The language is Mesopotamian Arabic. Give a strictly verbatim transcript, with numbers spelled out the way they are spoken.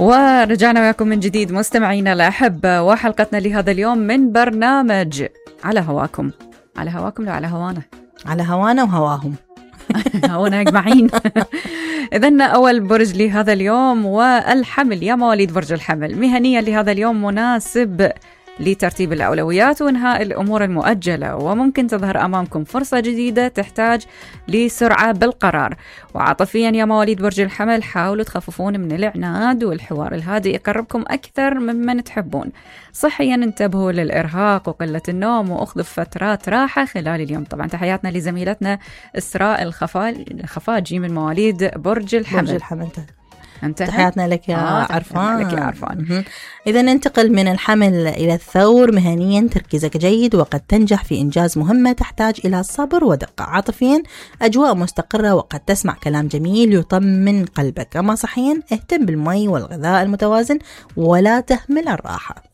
ورجعنا وياكم من جديد مستمعينا الأحبة، وحلقتنا لهذا اليوم من برنامج على هواكم. على هواكم لو على هوانا؟ على هوانا وهواهم هوانا أجمعين. إذن أول برج لهذا اليوم والحمل. يا مواليد برج الحمل، مهنيا لهذا اليوم مناسب لترتيب الأولويات وإنهاء الأمور المؤجلة، وممكن تظهر أمامكم فرصة جديدة تحتاج لسرعة بالقرار. وعاطفيا يا مواليد برج الحمل، حاولوا تخففون من العناد، والحوار الهادئ يقربكم أكثر ممن تحبون. صحيا انتبهوا للإرهاق وقلة النوم، وأخذوا فترات راحة خلال اليوم. طبعا تحياتنا لزميلتنا إسراء الخفاجي من مواليد برج الحمل. برج الحمل انتهى. تحياتنا لك يا آه عرفان. لك يا عرفان. إذا ننتقل من الحمل إلى الثور. مهنيا تركيزك جيد وقد تنجح في إنجاز مهمة تحتاج إلى صبر ودقة. عاطفيا أجواء مستقرة وقد تسمع كلام جميل يطمن قلبك. أما صحيا اهتم بالمي والغذاء المتوازن ولا تهمل الراحة.